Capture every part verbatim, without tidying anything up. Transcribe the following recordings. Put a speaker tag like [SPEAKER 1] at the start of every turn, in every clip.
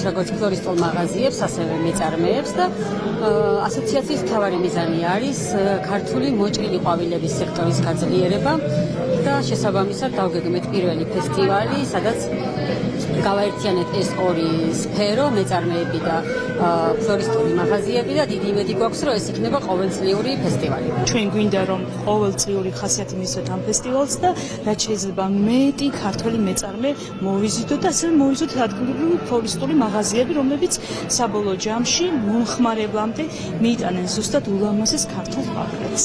[SPEAKER 1] როგორც ფლორისტულ მაღაზიებს, ასევე მეწარმეებს და ასოციაციის მთავარი მიზანი არის ქართული მოჭრილი ყვავილების სექტორის გაძლიერება და შესაბამისად დავგეგმეთ პირველი ფესტივალი, სადაც გავაერთიანეთ ეს ორი სფერო, მეწარმეები და ფლორისტული მაღაზიები და დიდი იმედი გვაქვს, რომ ეს იქნება ყოველწლიური ფესტივალი.
[SPEAKER 2] ჩვენ გვინდა რომ ყოველწლიური ხასიათი მისცეთ ამ ფესტივალს და რაც შეიძლება მეტი ქართველი მეწარმე მოვიზიტოთ და ასევე მოვიზიტოთ ადგილობრივი ფლორისტული მაღაზიები, რომლებიც საბოლოო ჯამში მომხმარებლამდე მიიტანენ ზუსტად ულამაზეს ქართულ ყვავილებს.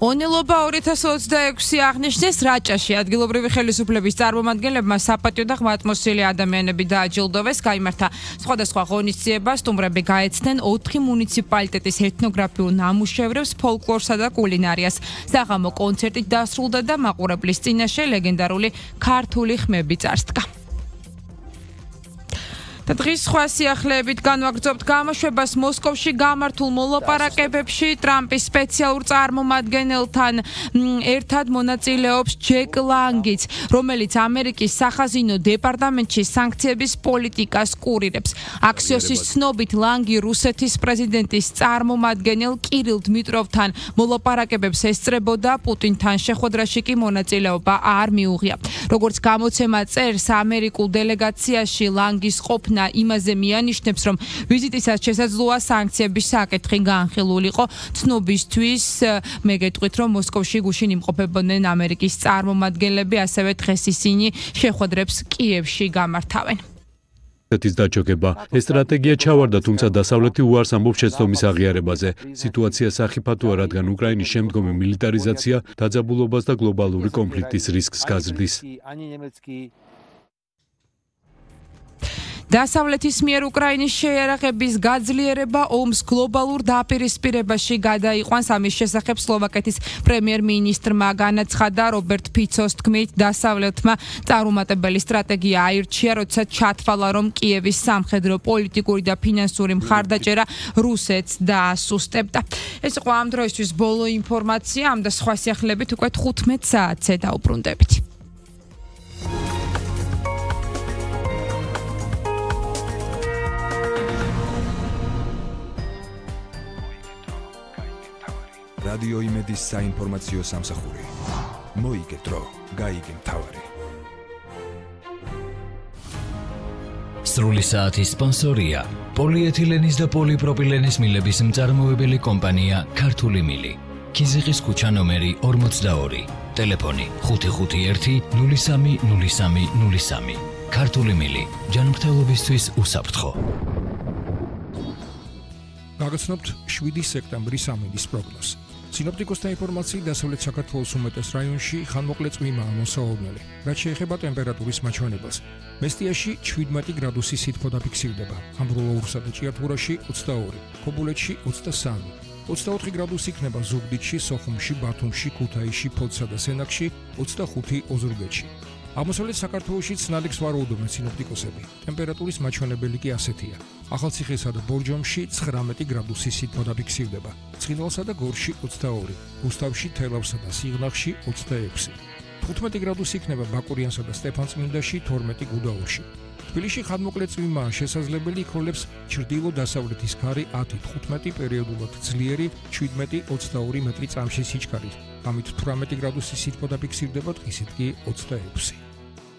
[SPEAKER 3] ონილობა ორი ათას ოცდაექვსი აღნიშნეს რაჭაში ადგილობრივი ხელისუფლების წარმომადგენლებმა საპატიო და ღმერთმოსილი ადამიანები დააჯილდოვეს, გაიმართა სხვადასხვა ღონისძიება, სტუმრები გაეცნენ ოთხი მუნიციპალიტეტის ეთნოგრაფიულ ნამუშევრებს, ფოლკლორსა და კულინარიას. საღამო კონცერტით დასრულდა და მაყურებლის წინაშე ლეგენდარული ქართული ხმები წარსდგა. და დღის სხვა სიახლეებით განვაგრძობთ გამოშვებას მოსკოვში გამართულ მოლაპარაკებებში ტრამპის სპეციალურ წარმომადგენელთან ერთად მონაწილეობს ჯეკ ლანგიც, რომელიც ამერიკის სახაზინო დეპარტამენტში სანქციების პოლიტიკას კურირებს. აქსიოსის ცნობით ლანგი რუსეთის პრეზიდენტის წარმომადგენელ კირილ დმიტროვთან მოლაპარაკებებს ესწრებოდა, პუტინთან შეხვედრაში კი მონაწილეობა არ მიუღია. როგორც გამოცემა წერს, ამერიკულ დელეგაციაში ლანგის ყოფნა იმაზე მიანიშნებს, რომ ვიზიტისაც შესაძლოა სანქციების საკითხი განხილულიყო. ცნობისთვის მე გეტყვით, რომ მოსკოვში გუშინ იმყოფებოდნენ ამერიკის წარმომადგენლები, ასევე დღეს ისინი შეხვედრებს კიევში გამართავენ.
[SPEAKER 4] ეს დაჯოგება ეს სტრატეგია ჩავარდა, თუმცა დასავლეთი უარს ამბობს შეცდომის აღიარებაზე. სიტუაცია სახიფათოა, რადგან უკრაინის შემდგომი მილიტარიზაცია დაძაბულობას და გლობალური კონფლიქტის რისკს გაზრდის.
[SPEAKER 3] დასავლეთის მიერ უკრაინის შეიარაღების გაძლიერება ომს გლობალურ დაპირისპირებაში გადაიყვანს. ამის შესახებ სლოვაკეთის პრემიერ-მინისტრმა განაცხადა. რობერტ ფიცოს თქმით, დასავლეთმა წარუმატებელი სტრატეგია აირჩია, როცა ჩათვალა, რომ კიევის სამხედრო, პოლიტიკური და ფინანსური მხარდაჭერა რუსეთს დაასუსტებდა. ეს იყო ამ დროისთვის ბოლო ინფორმაცია, ამ და სხვა სიახლეებით უკვე თხუთმეტ საათზე დაუბრუნდებით.
[SPEAKER 5] რადიო იმედის საინფორმაციო სამსახური. მოიგე დრო, გაიგე მთავარი.
[SPEAKER 6] სრული საათის სპონსორია პოლიეთილენის და პოლიპროპილენის მილების მწარმოებელი კომპანია ქართული მილი. ქიზიყის ქუჩა ნომერი ორმოცდაორი. ტელეფონი ხუთი ხუთი ერთი ნული სამი ნული სამი ნული სამი. ქართული მილი. ჯანმრთელობისთვის უსაფრთხო.
[SPEAKER 7] გაგაცნობთ შვიდი სექტემბრის ამინდის პროგნოზს. სინოპტიკოსთა ინფორმაციით, დასავლეთ საქართველოს უმეტეს რაიონში ხანმოკლე წვიმაა მოსავალნელი. რაც შეეხება ტემპერატურის მაჩვენებელს, მესტიაში შვიდმეტი გრადუსი სითბო დაფიქსირდება, ამბროლოურსა და ჭიათურაში ოცდაორი, ქობულეთში ოცდასამი, ოცდაოთხი გრადუსი იქნება ზუგდიდში, სოხუმში, ბათუმში, ქუთაისში, ფოთსა და სენაკში, ოცდახუთი ოზურგეთში. აღმოსავლეთ საქართველოშიც ნალექს ვარაუდობენ სინოპტიკოსები. ტემპერატურის მაჩვენებელი კი ასეთია. ახალციხესა და ბორჯომში ცხრამეტი გრადუსი სითბო დაფიქსირდება. ცხინვალსა და გორში ოცდაორი, რუსთავში, თელავსა და სიღნაღში ოცდაექვსი. თხუთმეტი გრადუსი იქნება ბაკურიანსა და სტეფანწმინდაში, თორმეტი გუდაურში. თბილისში ხანმოკლე წვიმაა შესაძლებელი, იქროლებს ჩრდილო-დასავლეთის ქარი ათი თხუთმეტი, პერიოდულად ძლიერი შვიდმეტი ოცდაორი მეტრი წამში სიჩქარით. ამით თვრამეტი გრადუსი სითბო დაფიქსირდება, დღისით კი ოცდაექვსი.